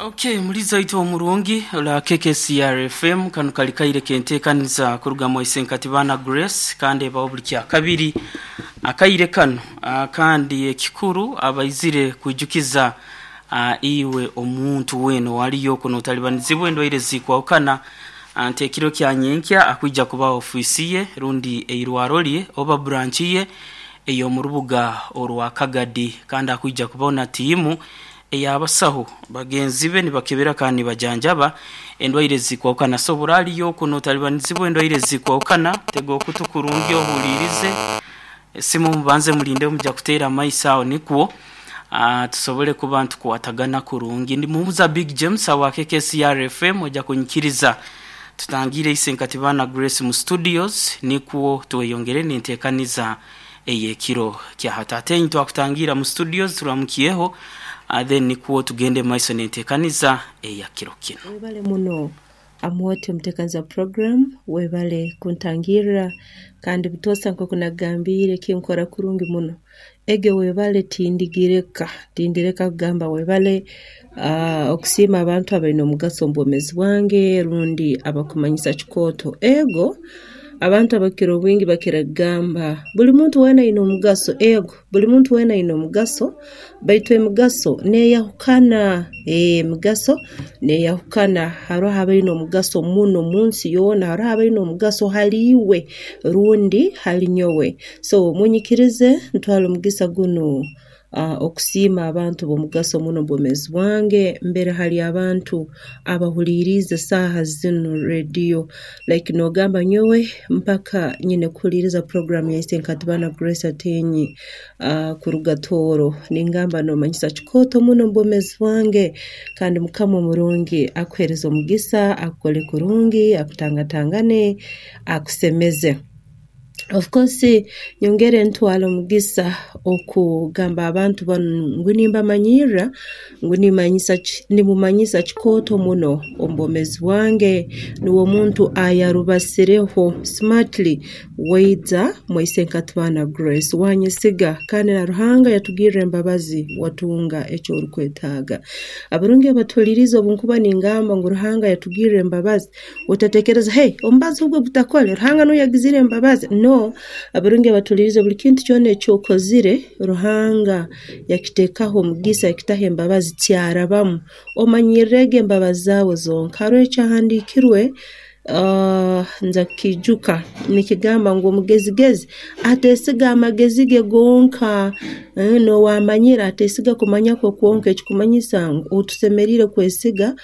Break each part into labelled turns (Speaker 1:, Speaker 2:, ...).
Speaker 1: Ok muliza waitu omurungi ora KKCR FM kanu kali kaire kentekaniza kuruga mu Isenkati baana Grace kandi ebaho buli kyakabiri akaire kanu kandi ekikuru abaizire kwijukiza iwe omuntu weena owaliyo okwo notalibanizibwa endwaire ezikwahukana nti ekiro kya nyenkya akwija kuba ofiisi ye rundi eirwaro lye oba branch ye ey'omu rubuga orwa Kagadi kandi akwija kubaho na tiimu ey'abasaho bagenzi be nibakebera kandi nibajanjaba endwaire ezikwahukana. So bw'oraliyo okwo notalibanizibwa endwaire ezikwahukana, tega okutu kurungi ohuliirize esimu mubanze mulinde muja kuteera amaiso aho nikwo tusobole kuba nitukwatagana kurungi. Ndi Muhumuza Big James awa KKCR FM oja kunyikiriza tutangiire Isenkati Baana Grace mu studios nikwo tweyongere n'enteekaniza ey'ekiro kya hati. Ate twakutangiira mu studios turamukyeho then nikwo tugende mu maiso n'enteekaniza eya kiro kinu.
Speaker 2: Webale muno Amooti omuteekaniza puroguraamu, webale kuntangirra kandi butoosa nk'oku nakugambiire kinkora kurungi muno. Ege webale tindigireka, tindireka kugamba webale okusiima abantu abaine omugaso omu bwomeezi bwange rundi abakumanyisa kikooto. Ego abantu abakukira obwingi bakira kugamba buli muntu weena aine omugaso, ego buli muntu weena aine omugaso baitu emigaso neyahukana, emigaso neyahukana. Haroho abaine omugaso muno munsi yoona, haroho abaine omugaso hali iwe rundi hali nyowe. So munyikirize ntwale omugisa gunu okusiima abantu b'omugaso muno omu bwomeezi bwange mbere hali abantu abahuliiriize saaha zinu rediyo like nogamba nyowe mpaka nyine kuhuliiriza puroguraamu ya Isenkatibana Grace Atenyi kuruga Tooro. Ningamba nomanyisa kikooto muno omu bwomeezi bwange kandi Mukama omurungi akuheereze omugisa, akukole kurungi, akutangatangane, akusemeze. Of course nyongere ntwale omugisa okugamba abantu banu ngu nimbamanyirra ngu nimanyisa ki nimumanyisa kikooto muno omu bwomeezi bwange nuwe omuntu ayarubasireho smartly waija mwaise Nkatibana Grace wanyesiga kandi na Ruhanga yatugirra embabazi watunga eki orukwetaaga. Abarungi abatuhuliirize obu nkuba ningamba ngu Ruhanga yatugirra embabazi Otatekereza, hey, omubazi ogwo gutakore, Ruhanga nuwe yagizire embabazi. No, abarungi abatuhuliriize buli kintu kyona eki okozire, Ruhanga yakiteekaho omugisa, yakitaho embabazi, kyarabamu. Omanyirrege embabazi zaawe zonka. Haroho ekyahandiikirwe nza kukiijuka, nikigamba ngu omugezigezi ateesiga amagezi ge gonka, n'owamanyire ateesiga kumanya kwe kwonka, ekikumanyisa ngu otusemeriire kwesiga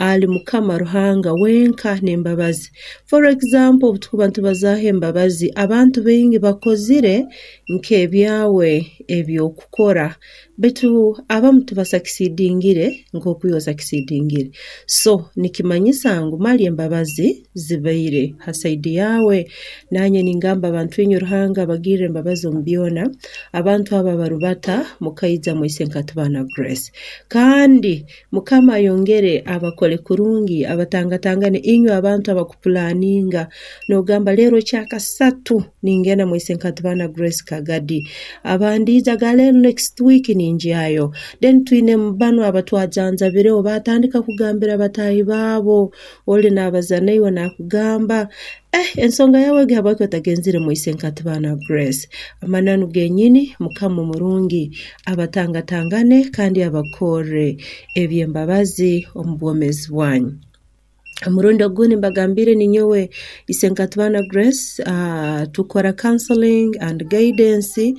Speaker 2: Ali Mukama Ruhanga wenka n'embabazi. For example, obutukuba nitubazaaho embabazi, abantu baingi bakozire nk'ebyawe eby'okukora baitu abamu tibasakisidingire nk'oku iwe osakisidingire. So nikimanyisa ngu mali embabazi zibaire ha saidi yaawe. Nanye ningamba abantu inywe Ruhanga abagirre embabazi omu byona, abantu abo abarubata mukaija mwaise Nkatibana Grace. Kandi Mukama ayongere abakole kurungi abatangatangane inywe abantu abakupulaninga nogamba lero kyakasatu ningenda mwa Isenkatibana Grace Kagadi abandiija ga lero next week ningyayo then twine banu abatwajanjabireho batandika kugambira bataahi baabo oli nabaza naiwe nakugamba Eh, ensonga yawe egi habwaki otagenzire mwa Isenkatibana Grace? Amananu genyini, Mukama omurungi abatangatangane kandi abakorre eby'embabazi omu bwomeezi bwanyu. Omurundi ogundi mbagambiire ninyowe Isenkatibana Grace, ah, tukora counseling and guidance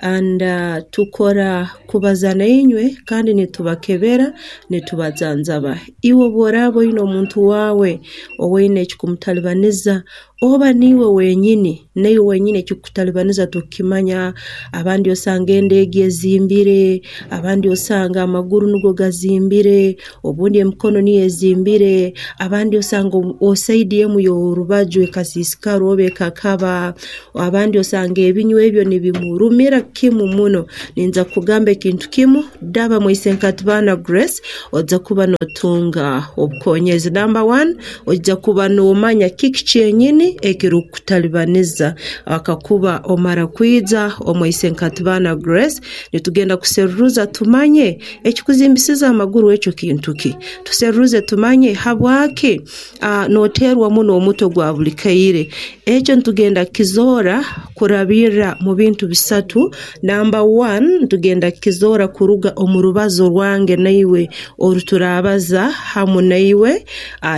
Speaker 2: and tukora kubaza nainywe kandi nitubakebera nitubajanjaba. Iwe obu oraaba oine omuntu waawe owaine ekikumutalibaniza oba niiwe wenyini, naiwe wenyini ekikukutalibaniza tokukimanya, abandi osanga enda egi ezimbire, abandi osanga amaguru nugo gazimbire, obundi emikono niyo ezimbire, abandi. Abandi osanga osaidi emu y'orubaju ekasiisikara oba ekakaba, abandi osanga ebinywa ebyo nibimurumira kimu muno. Ninza kukugamba ekintu kimu, daba Mwaisenkatibana Grace oija kuba notunga obukonyezi. Namba wani, oija kuba nomanya kiki kyenyini ekirukukutalibaniza. Kakuba omara kwija omu Isenkatibana Grace, nitugenda kuseruruza tumanye ekikuzimbisize amaguru ekyo kintu ki. Tuseruruze tumanye habwaki noteerwa muno omutwe gwa buli kaire. Ekyo nitugenda kukizoora kurabirra mu bintu bisatu. Namba wani, nitugenda kukizoora kuruga omu rubazo rwange naiwe oru turaabaza hamu naiwe.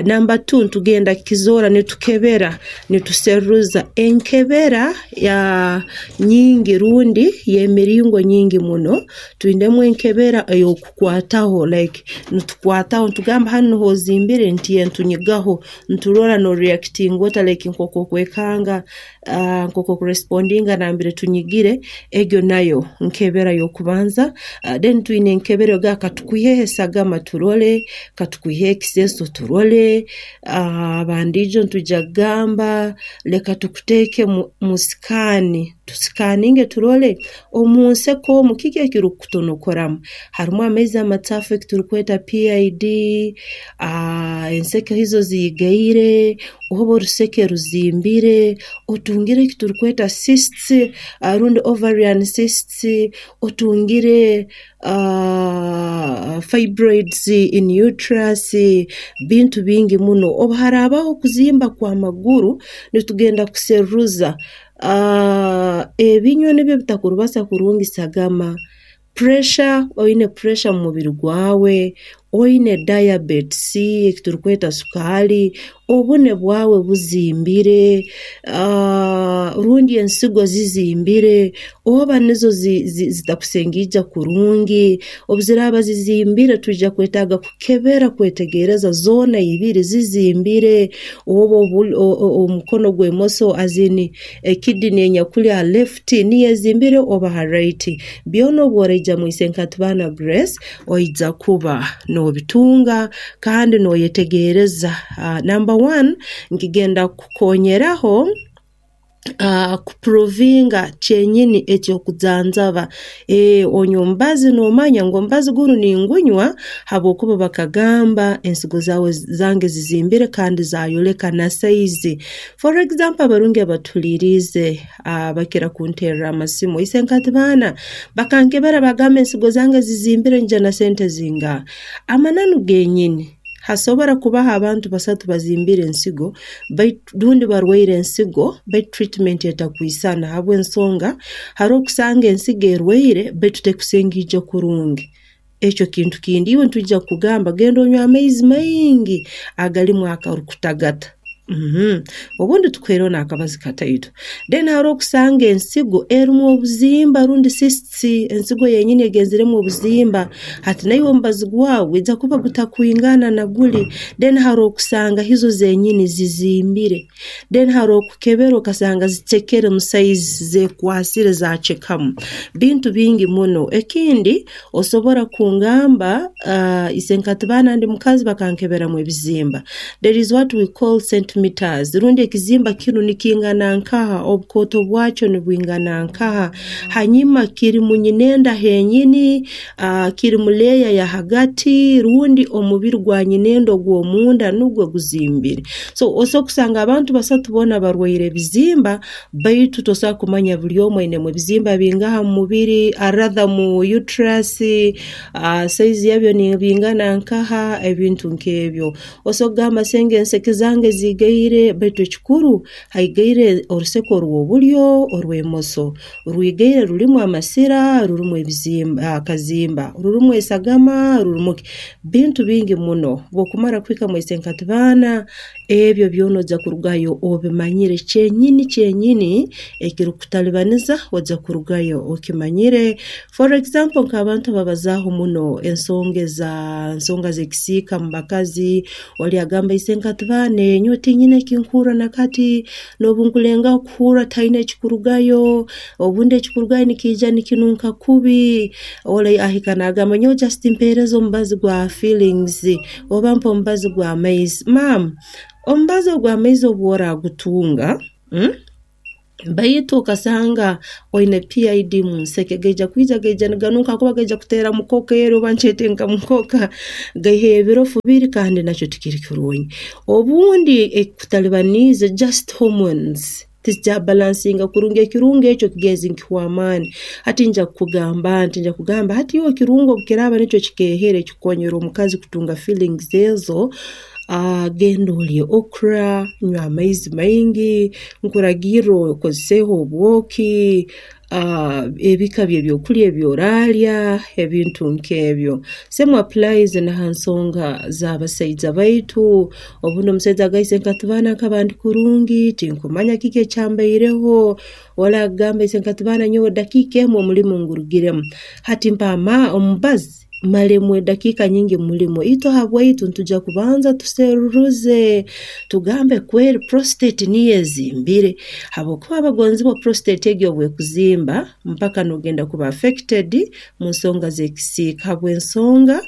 Speaker 2: Namba tu, nitugenda kukizoora nitukebera, nituseruruza enkebera ya nyingi rundi y'emiringo nyingi muno. Twinemu enkebera ey'okukwataho like nitukwataho nitugamba hanu nuho ozimbire nti ntunyigaho, niturora noreactinga ota like nk'oku okwekanga, nk'oku okurespondinga nambere tunyigire, egyo nayo nkebera y'okubanza. Then twine enkebera egamba katukwiheho esagama turole, katukwiheho ekiseeso turole, abandiijo nitwija kugamba leka tukuteeke mu sikaani, tusikaninge turole omu nseko omu kiki ekirukukutonokoramu. Harumu amaizi amacaafu eki turukweta PID, enseke hizo ziigaire, oba oruseke ruzimbire, otungire eki turukweta cysts rundi ovarian cysts, otungire fibroids in uterus, bintu bingi muno. Obu haraabaho okuzimba kw'amaguru, nitugenda kuseruruza ebinywa nibyo bitakurubasa kurungi sagama, puresha, oine puresha mu mubiri gwawe, oine dayabetisi eki turukweta sukaali, obune bwawe buzimbire, rundi ensigo zizimbire, oba nizo zitakusengiija kurungi. Obu ziraaba zizimbire twija kwetaaga kukebera kwetegereza zoona ibiri zizimbire oba omukono gw'emoso as in ekidini enyakuli ha left niyo ezimbire oba ha right. Byona obu oraija mu Isenkatibana Grace oija kuba nobitunga kandi noyetegereza. Namba wani, nkigenda kukukonyeraho kupuruvinga kyenyini eky'okujanjaba. Onywa omubazi nomanya ngu omubazi gunu ningunywa habwokuba bakagamba ensigo zaawe zange zizimbire kandi zayoleka na saizi. For example abarungi abatuhuliiriize bakira kunterra amasimu, Isenkatibaana bakankebera bagamba ensigo zange zizimbire nyija na sente zingaha? Amananu genyini, hasobora kubaho abantu basatu bazimbire ensigo baitu rundi barwaire ensigo baitu treatment etakwisana habw'ensonga haroho kusanga ensigo erwaire baitu tekusengiija kurungi. Ekyo kintu kindi iwe nitwija kukugamba genda onywe amaizi maingi agalimu akarukutagata. Obundi tukuhaireho n'akabazi kataito. Then haroho kusanga ensigo erumu obuzimba rundi cysts, ensigo yenyini egenzeremu obuzimba, hati naiwe omubazi gwawe gwija kuba gutakwingana na guli. Then haroho kusanga hizo zenyini zizimbire. Then haroho kukebera okasanga zicekere mu saizi, zekwasire zacekamu. Bintu bingi muno. Ekindi osobora kungamba Isenkatibaana ndi mukazi bakankeberamu ebizimba. There is what we call centimeters rundi ekizimba kinu nikingana nkaha, obukooto bwakyo nibwingana nkaha, hanyuma kiri mu nyinenda henyini, kiri mu leeya ya hagati rundi omubiri gwa nyinenda ogw'omunda nugwo guzimbire. So osobola kusanga abantu basatu boona barwaire ebizimba baitu tosobora kumanya buli omu ainemu ebizimba bingaha mu mubiri rather mu uterus, saizi yabyo nibingana nkaha, ebintu nk'ebyo. Osobola kugamba senge enseke zange ziigaire baitu ekikuru haigaire oruseke orw'obulyo, orw'emoso. Rwigaire rurimu amasira, rurimu ebizimba akazimba, rurimu esagama, rurimu ki, bintu bingi muno. Obu okumara kuhika mu Isenkatibaana, ebyo byona oija kurugayo obimanyire kyenyini kyenyini ekirukukutalibaniza oija kurugayo okimanyire. For example nk'abantu ababazaaho muno ensonga eza ensonga z'ekisiika mu bakazi, oli agamba Isenkatibaana nyowe. Tinyine eki nkuhurra na kati, n'obu nkulengaho kuhurra tihaine ekikurugayo, obundi ekikurugayo nikiija nikinunka kubi. Ole ahika naagamba nyowe just mpeereza omubazi gwa feelings oba mpa omubazi gw'amaizi. Maama, omubazi ogw'amaizi obu oragutunga, Baitu okasanga oine PID mu nseke, gaija kwija gaija niganunka ahakuba gaija kuteera mukoka eri oba nkyete nka mukoka, gaiheyo ebirofu biri kandi nakyo tikiri kirungi. Obundi ekikutalibaniize just hormones tizikyabalansinga kurungi, ekirungo ekyo kigezi nikihwa amaani. Hati nja kukugamba nti, nja kugamba hati iwe ekirungo obu kiraaba nikyo kikeehere kikukonyera omukazi kutunga feelings ezo, Genda olye okra, nywa amaizi maingi, nkuragirra okozeseho obwoki, ebika by'ebyokulya ebi oraalya, ebintu nk'ebyo. Same applies na ha nsonga z'abasaija baitu, obundi omusaija agamba nkatubana nkaba ndi kurungi, tinkumanya kiki ekyambaireho, oli akugamba nkatubana nyowe dakiika emu omulimo ngurugiremu, hati mpa omubazi. Malemu edakiika nyingi mulimo. Itwe habwaitu nitwija kubanza tuseruruze tugambe kweri prostate niyo ezimbire habwokuba abagonzibwa prostate egi obu ekuzimba mpaka nogenda kuba affected mu nsonga z'ekisiika habw'ensonga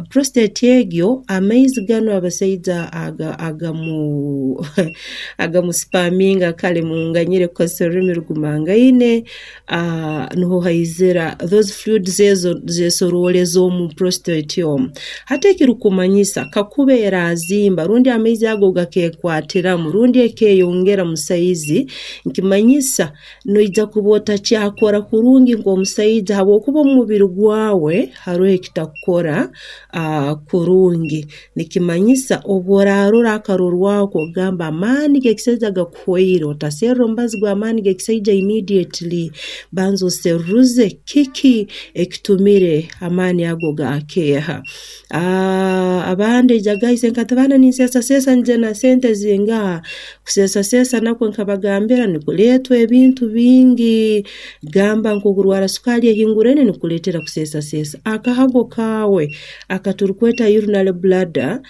Speaker 2: prostate egyo amaizi ganu abasaija agamu agamuspaminga kale munganyire kukozesa orulimi rugumangaine Nuho haizira those fluids ezo zesorooleza omu prostate omu. Hati ekirukumanyisa kakuba erazimba rundi amaizi ago gakekwatiramu rundi ekeyongera mu saizi, nikimanyisa noija kuba otakyakora kurungi nk'omusaija habwokuba omu mubiri gwawe haroho ekitakukora kurungi. Nikimanyisa obu orarora akarorwaho k'okugamba amaani g'ekisaija gakuhwaire, otaserra omubazi gw'amaani g'ekisaija immediately, banza oseruruze kiki ekitumire amaani ago gaakeeha. Abandi ejagaise nkatibana ninseesaseesa nyije na sente zingaha, kuseesaseesa nakwo nkabagambira nikuleetwa ebintu bingi, gamba nk'okurwara sukaali ehinguraine nikukuleetera kuseesaseesa. Akahago kaawe akaturukweta urinary bladder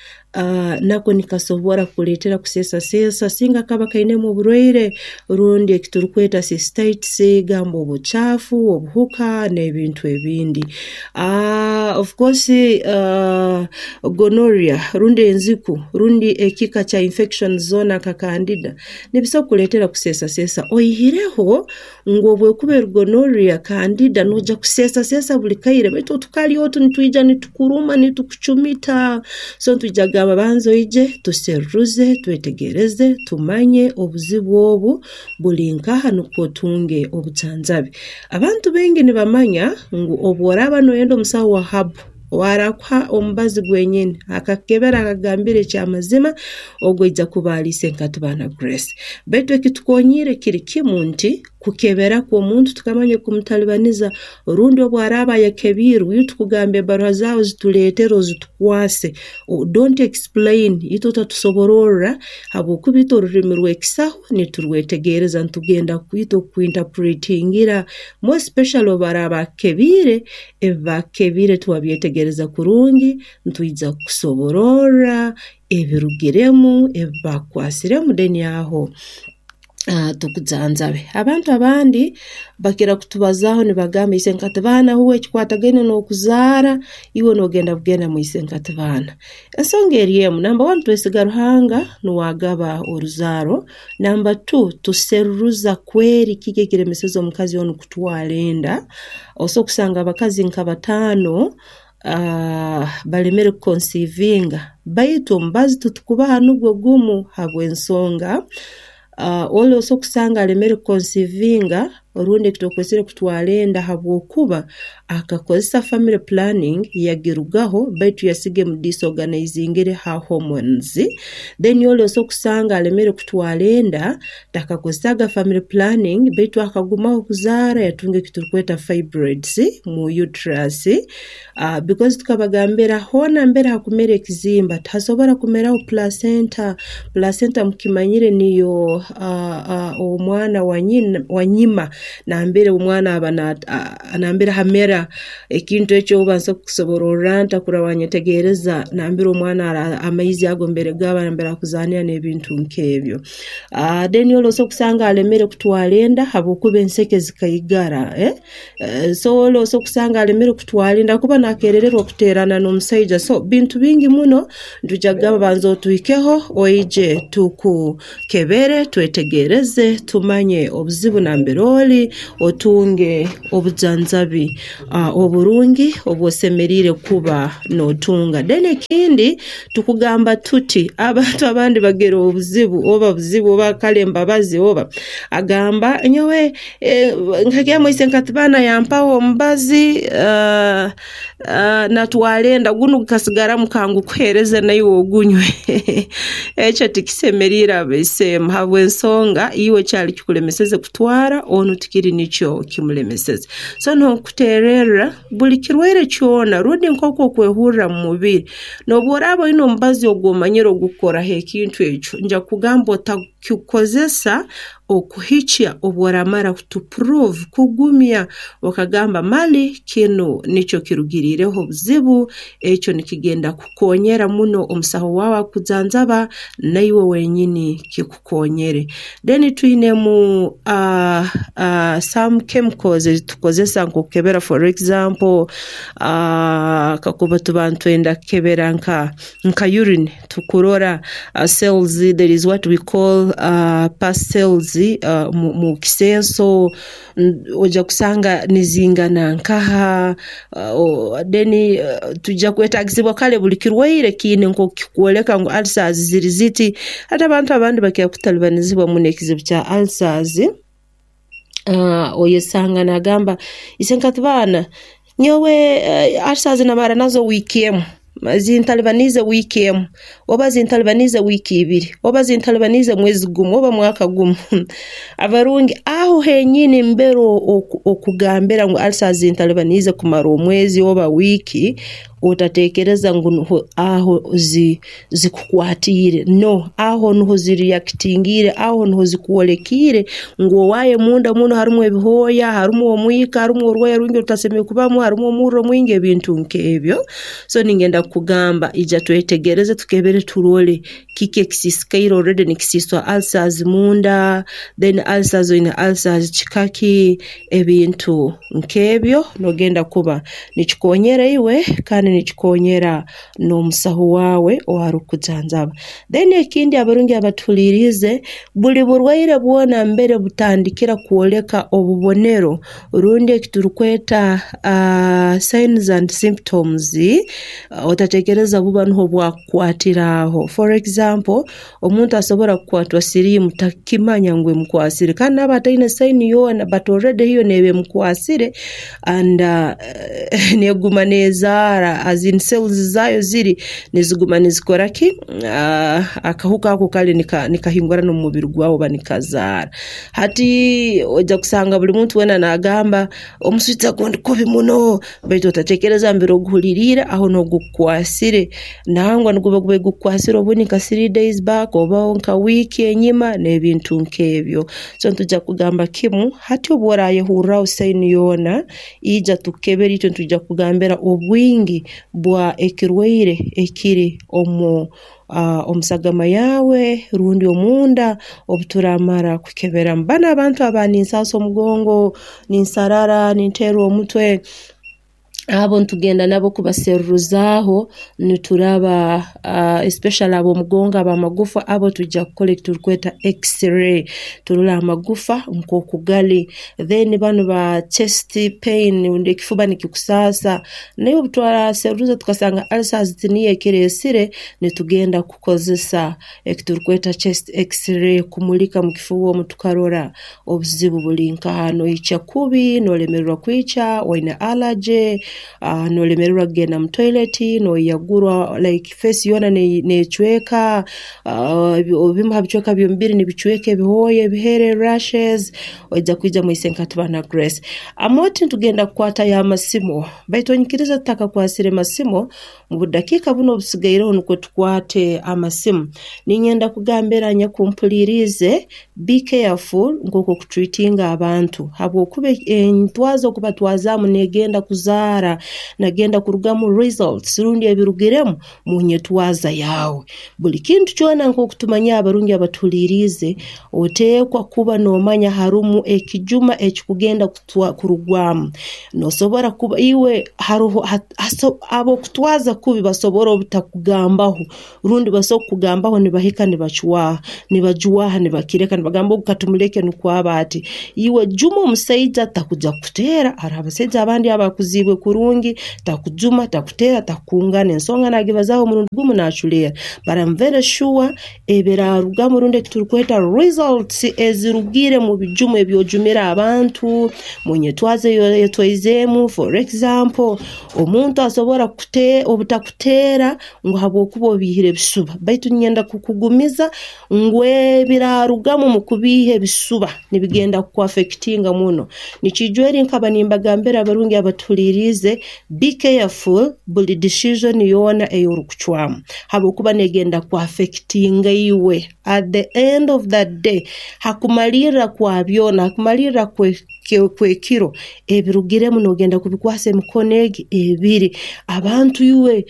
Speaker 2: nako nikasobora kukuleetera kuseesaseesa singa kaba kainemu oburwaire rundi ekiturukweta cystitis gamba obucaafu, obuhuka n'ebintu ebindi. Of course gonorrhea rundi enziku rundi ekika kya infection zoona nka candida nibisobora kukuleetera kuseesaseesa oihireho Ngu obu ekuba eri gonorrhea, candida, noija kuseesaseesa buli kaire baitu otukari otu nitwija nitukuruma nitukucumita. So nitwija kugamba banza oije tuseruruze, twetegereze, tumanye obuzibu obu buli nkaha nukwo otunge obujanjabi. Abantu baingi nibamanya ngu obu oraaba noyenda omusaho wa herbal ow'arakuha omubazi gwenyini akakukebera akakugambira eky'amazima, ogu aija kuba ali Isenkatibana Grace. Baitu ekitukonyiire kiri kimu nti kukebera kwo omuntu tukamanya ekikumutalibaniza rundi obu araaba ayekebiirwe itwe tukugamba ebbaruha zaawe zituleetere ozitukwase, don't explain itwe otatusobororra habwokuba itwe orulimi rw'ekisaho niturwetegereza nitugenda itwe kukuinterpretingira more especially obu araaba akukebiire Ebi baakukebiire twabyetegereza kurungi, nitwija kukusobororra ebirugiremu, ebi baakukwasiremu then aho tukujanjabe. Abantu abandi bakira kutubazaaho nibagamba isenkatibaana huwe ekikwatagaine n'okuzaara iwe noogenda bugenda mu isenkatibaana. Ensonga eri emu, namba wani twesiga Ruhanga nuwe agaba oruzaaro, namba tu tuseruruza kweri kiki ekiremeseze omukazi onu kutwara enda. Osobola kusanga abakazi nka bataano balemere kukonsiivinga baitu omubazi titukubaha nugwo gumu habw'ensonga oli osobola kusanga alemere kukonsiivinga rundi ekitukwesere kutwara enda habwokuba akakozesa family planning yagirugaho baitu yasiga emudisorganizingire her hormones then oli osobola kusanga alemere kutwara enda Takakozesaga family planning baitu akagumaho kuzaara yatunga ekiturukweta fibroids mu uterus because tukabagambira hoona mbere hakumera ekizimba tihasobora kumeraho placenta, placenta mukimanyire niyo omwana wanyima. Nambere omwana aba nambere hamera ekintu eki oba nso kukusobororra nta kurora wanyetegereza nambere omwana amaizi ago mbere gaba nambere akuzaanira n'ebintu nk'ebyo. Then oli osobola kusanga alemere kutwara enda habwokuba enseke zikaigara, so oli osobola kusanga alemere kutwara enda habwokuba nakerererwa kuteerana n'omusaija. So bintu bingi muno nitwija kugamba banza otuhikeho oije tukukebere twetegereze tumanye obuzibu nambere oli otunge obujanjabi oburungi obu osemeriire kuba nootunga. Then ekindi tukugamba tuti abantu abandi bagira obuzibu oba buzibu oba kale embabazi oba agamba nyowe nkagenda isenkatibaana yampaho omubazi natwara enda gunu gukasigaramu kangukuheereze naiwe ogunywe. Ekyo tikisemeriire abaisemu habw'ensonga iwe kyali kikulemeseze kutwara onu tikiri nikyo kimulemeseze. So n'okuteererra buli kirwaire kyona rundi nk'oku okwehurra mu mubiri n'obu oraaba oine omubazi ogu omanyire ogukukoraho ekintu ekyo, nja kukugamba otakikozesa okuhikya obu oramara to prove kugumya okagamba mali kinu nikyo kirugiriireho obuzibu, ekyo nikigenda kukukonyera muno omusaho waawe akujanjaba naiwe wenyini kikukonyere. Then twinemu some chemicals ezi tukozesa nk'okukebera for example kakuba tuba nitwenda kukebera nka urine tukurora cells, there is what we call pus cells mu kisenso oija kusanga nizingana nkaha, then twija kwetaagisibwa kale buli kirwaire kiine nk'oku kikukwoleka ngu ulcers ziri ziti. Hati abantu abandi bakira kutalibanizibwa muno ekizibu kya ulcers, oyesanga naagamba isenkatibaana nyowe ulcers namara nazo wiiki emu, zintalibaniize wiiki emu oba zintalibaniize wiiki ibiri oba zintalibaniize mwezi gumu oba mwaka gumu. Abarungi aho henyini mbere okugambira ngu ulcers zintalibaniize kumara omwezi oba wiiki, otateekereza ngu nuho aho zikukwatiire, no, aho nuho zireactingiire, aho nuho zikwolekiire ngu owaaye munda muno harumu ebihooya, harumu omwika, harumu orwoya rwingi orutasemeriire kubamu, harumu omurro mwingi, ebintu nk'ebyo. So ningenda kukugamba ija twetegereze tukebere turole kiki ekisiisikaire already nikisiiswa ulcers munda, then ulcers oine ulcers kika ki, ebintu nk'ebyo nogenda kuba nikikonyera iwe kandi nikikonyera n'omusaho waawe owaarukukujanjaba. Then ekindi abarungi abatuhuliiriize, buli burwaire bwona mbere butandikira kwoleka obubonero rundi eki turukweta signs and symptoms, otateekereza buba nuho bwakukwatira aho. For example, omuntu asobora kukwatwa siriimu takukimanya ngu emukwasire kandi naaba ataine sign yoona but already hiyo neeba emukwasire and neeguma neezaara as in cells zaayo ziri niziguma nizikora ki, akahuka ako kale nikahingurana omu mubiri gwawe oba nikazaara. Hati oija kusanga buli muntu weena naagamba omuswija gundi kubi muno baitu otateekereza mbere oguhuliriire aho nuho gukukwasire. Nangwa niguba gubaire gukukwasire obundi nka three days back oba nka wiiki enyima n'ebintu nk'ebyo. So nitwija kugamba kimu hati obu orayehurraho sign yoona, ija tukukebere itwe nitwija kukugambira obwingi bwa ekirwaire ekiri omu sagama yaawe rundi omunda obu turaamara kukeberamu. Banu abantu aba ninsaasa omugongo, ninsarara, ninteerwa omutwe, abo nitugenda nabo kubaserruzaaho nituraba especially ab'omugongo ab'amagufa abo twija kukora eki turukweta X-ray turole amagufa nk'oku gali. Then banu ba chest pain rundi ekifuba nikikusaasa, naiwe obu turaserruza tukasanga ulcers tiniyo ekireesire, nitugenda kukozesa eki turukweta chest X-ray kumulika mu kifuba omu tukarora obuzibu buli nkaha, noikya kubi, noolemererwa kwikya, oine allergy. Nolemererwa kugenda mu toilet, noyagurwa like face yoona necweka, ebimu ha bicweka by'omubiri nibicweka ebihooya, ebihere, rashes, oija kwija mu Isenkatibana Grace. Amooti nitugenda kukwatayo amasimu, baitu onyikirize tutakakwasire masimu, Mu budakiika bunu obusigaireho nukwo tukwate amasimu. Niinyenda kugambira nyakumpuliiriize, be careful nk'oku okutreatinga abantu habwokuba entwaza okubatwazaamu negenda kuzaara, nagenda kurugamu results rundi ebirugiremu mu nyetwaza yaawe. Buli kintu kyona nk'oku tumanyire abarungi abatuhuliiriize, oteekwa kuba noomanya harumu ekijuma ekikugenda kurugwamu. Nosobora kuba iwe haroho ab'okutwaza kubi basobora obutakugambaho rundi basobora kukugambaho nibahika nibacwaha, nibajwaha nibakireka nibagamba ogu katumuleke nukwo abe ati. Iwe juma omusaija takuja kukuteera, haroho abasaija abandi abakuziibwe kurungi, takujuma, takuteera, takukungana, ensonga nagibazaaho omurundi gumu naculeera. But I'm very sure Ebiraarugamu rundi eki turikweta results ezirugire mu bijumo ebi ojumire abantu, mu nyetwaza ei oyetwaizeemu. For example, omuntu asobora obutakuteera ngu habwokuba obiihire ebisuba baitu niinyenda kukugumiza ngu ebiraarugamu omu kubiiha ebisuba nibigenda kukuaffectinga muno. Nikiija eri nkaba nimbagambira abarungi abatuhuliiriize, be careful buli decision yoona ei orikucwamu. Habwokuba negenda ku affectinga iwe at the end of the day, hakumalirra kwa byona, hakumalirra kw'ekiro, ebirugiremu nogenda kubikwasa emikono egi ebiri. Abantu iwe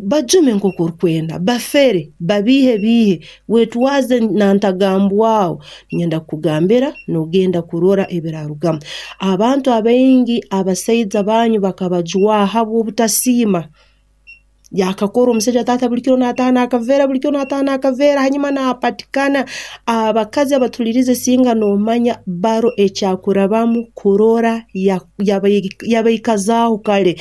Speaker 2: bajume nk'oku orukwenda, bafere, babiihe biihe, wetwaze na ntagambwaho, niinyenda kukugambira nogenda kurora ebirarugamu. Abantu abaingi abasaija banyu bakabajwaha habw'obutasiima. Yakakora omusaija taata buli kiro naataaha naakaveera, buli kiro naataaha naakaveera hanyuma naapatikana. Abakazi abatuhuliriize singa noomanya baro eki akurabamu kurora yabaikazaaho kare.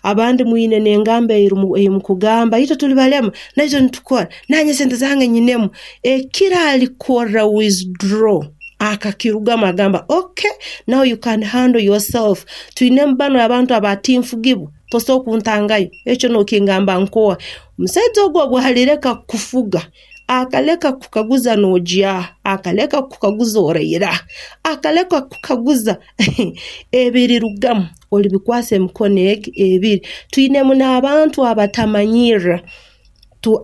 Speaker 2: Abandi mwine n'engamba ei mukugamba itwe tuli balema, naitwe nitukora, naanye sente zange nyinemu. Ekiro alikora withdraw akakirugamu agamba okay now you can handle yourself. Twinemu banu abantu aba tinfugibwa. Tosobora kuntangayo, ekyo nokingamba nkoha? Omusaija ogu obu alireka kukufuga, akaleka kukukaguza nogya, akaleka kukukaguza oraira, akaleka kukukaguza ebirirugamu olibikwasa emikono egi ebiri. Twinemu n'abantu abatamanyirra. To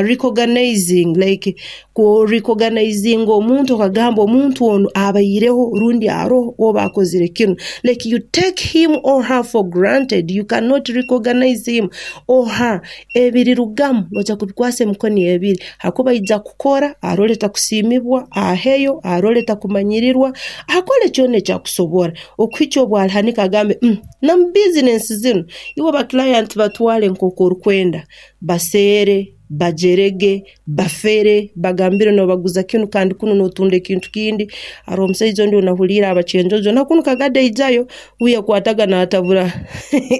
Speaker 2: recognizing like ku recognizinga omuntu okagamba omuntu onu abaireho rundi aroho oba akozire kinu like you take him or her for granted you cannot recognize him or her ebirirugamu noija kubikwasa emikono ebiri hakuba aija kukora arole takusiimibwa aheyo arole takumanyirirwa akole kyona eki akusobora okuhikya obu alihanika agambe Na mu bizinensi zinu, iwe bakilaiyanti batwale nk'oku orikwenda, baseere, bajerege, bafere, bagambire nobaguza kinu kandi kunu notunda ekintu kindi. Haroho omusaija ondi ounahuliire aba Kyenjojo na kunu Kagadi aijayo, uwe yakwataga natabura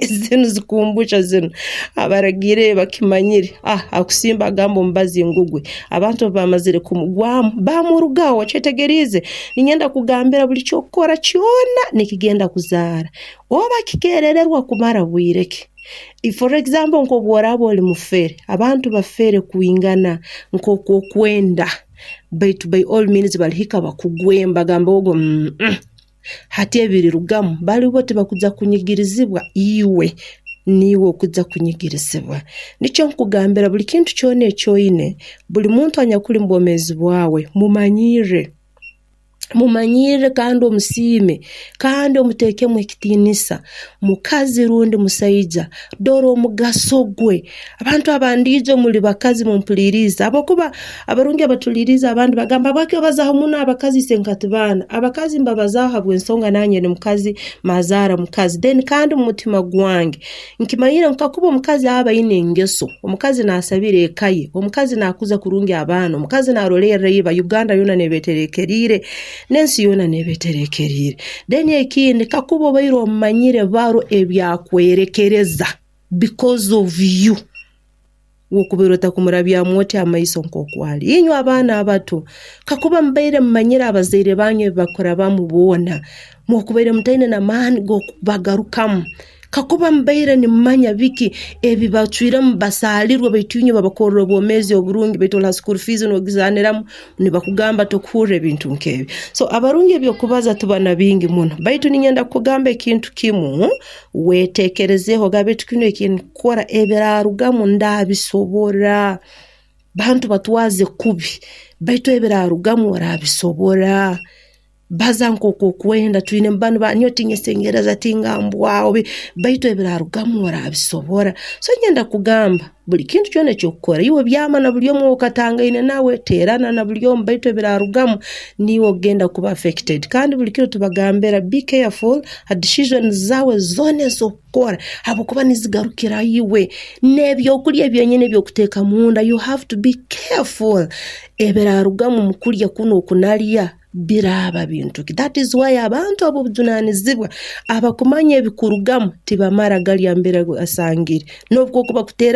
Speaker 2: zinu zikumbusha zinu, abaragiire bakimanyire, akusimba agamba omubazi ngugwe. Abantu obu baamazire kumugwamu, baamurugaho. Okyetegeriize? Niinyenda kukugambira buli ky'okukora kyona nikigenda kuzaara. Oba kikeerererwa kumara bwire ki. For example nk'obu oraaba oli mufere, abantu bafere kwingana nk'oku okwenda, baitu by all means balihika bakugwemu bagambe ogu uumm hati ebirirugamu bali bo tibakuja kunyigirizibwa iwe niiwe okuja kunyigirizibwa. Nikyo nkugambira buli kintu kyona eki oine, buli muntu anyakuli mu bwomeezi bwawe mumanyirre. Mumanyirre kandi omusiime kandi omuteekemu ekitiinisa, mukazi rundi musaija. Dora omugaso gwe. Abantu abandiijo muli bakazi mumpuliirize habwokuba abarungi abatuliirize abandi bagamba habwaki obazaaho muno abakazi isenkati baana. Abakazi mbabazaaho habw'ensonga nanye ndi mukazi, mazaara mukazi. Then kandi omu mutima gwange Nkimanyire ngu kakuba omukazi aba aine engeso, omukazi naasabira eka ye, omukazi naakuza kurungi abaana, omukazi naarolerra iba, Uganda yoona neeba etereekeriire n'ensi yoona neeba etereekeriire. Then ekindi kakuba obaire omanyire baro ebyakwerekereza because of you. Wokubaire otakumurabyamu oti amaiso nk'oku ali. Inywe abaana abato, kakuba mubaire mumanyire abazaire banyu ebi bakurabamu boona, mwokubaire mutaine n'amaani g'okubagarukamu. Kakuba mubaire nimumanya biki ebi bacwiremu basaalirwe baitu inywe babakorra obwomeezi oburungi baitu ori ha school fees nogizaaniramu nibakugamba tokuhurra ebintu nk'ebi. So abarungi eby'okubaza tuba na bingi muno baitu niinyenda kukugamba ekintu kimu, Wetekerezeeho ogambe oti, 'Kinu eki ndikukora ebiraarugamu ndaabisobora? Bantu batwaze kubi, baitu ebiraarugamu oraabisobora? Baza nk'oku okwenda, twine banu ba nyowe tinyesengereza, tingambwaho, baitu ebiraarugamu oraabisobora? So niinyenda kugamba buli kintu kyona eki orikukora, iwe byama na buli omu ou okatangaine nawe, teerana na buli omu baitu ebiraarugamu niiwe okugenda kuba affected. Kandi buli kiro tubagambira be careful ha decisions zaawe zoona ez'okukora habwokuba nizigarukira iwe. N'ebyokulya byenyini eby'okuteeka munda you have to be careful ebiraarugamu omu kulya kunu oku nalya biraaba bintu ki. That is why abantu ab'obujunanizibwa abakumanya ebikurugamu tibamara galya mbere asangire n'obu kokuba kuteera.